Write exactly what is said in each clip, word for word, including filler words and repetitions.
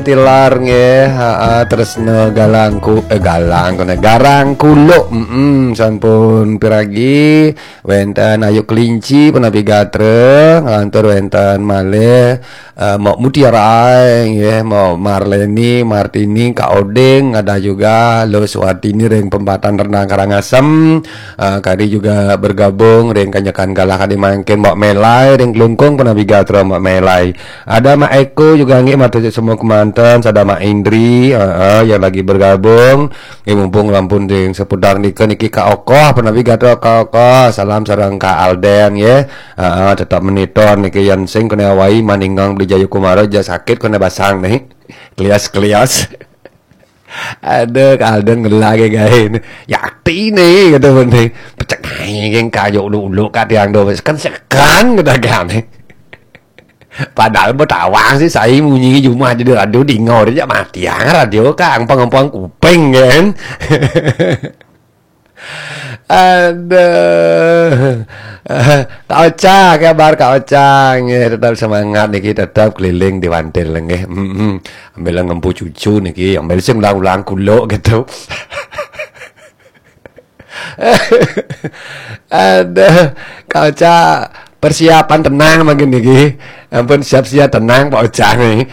Tilar nggih, ha, Tresna Galangku, eh, Galang kene, Garang Kuluk. Mm-mm, sampun piragi wenten Ayu Kelinci punapi gatra, ngantur wenten malih, eh, Mok Mutiara nggih, Mok Marleni, Martini, Kak Oding, ada juga Lo Suartini ring Pempatan Rendang Karangasem. Eh, kadi juga bergabung ring kanyekan galah kadi mangkin Mok Melai ring Klungkung punapi gatra Mok Melai. Ada Mak Eko juga nggih, matur semua kemanten, sada Mak Indri, heeh, yang lagi bergabung. Nggih, mumpung lampun ding seputar nika niki Kak Okoh, punapi gatra Kak Okoh, salam sareng Kak Alden nggih. Heeh, tetap monitor niki, yang sing kena awai maningang beli Jayu Kumara, ja sakit kena basang nih. Klias-klias. Aduh, Kak Alden ngelah gae. Yakti nih, kata bende. Pecek naik yang kayu ulu-ulu kat yang do. Kan sekan kata kan. Padahal betawang sih saya munyi jumah jadi radio dingau dia mati yang radio kang pengempang kuping kan. Aduh. Kak Ocha, kabar Kak Ocha? Nggih, tetap semangat niki, tetap keliling di Wantil nggih. Mm-mm. Ambil ngempu cucu niki, ambil sing ulang-ulang kuluk gitu. Aduh, Kak Ocha, persiapan tenang makin niki. Ampun, siap-siap tenang Pak Ocha nih.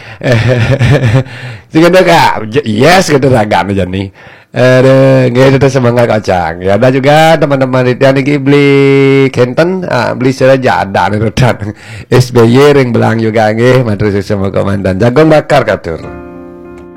Sing ada Kak, yes gitu ragam aja nih. Aduh, nggih, tetap semangat Kak Ocha. Ya, ada juga teman-teman itu yang niki beli kenten, ah, beli seraja ada nih redan. S B Y ring belang juga nggih, matur suwun komandan. Jagung bakar katur.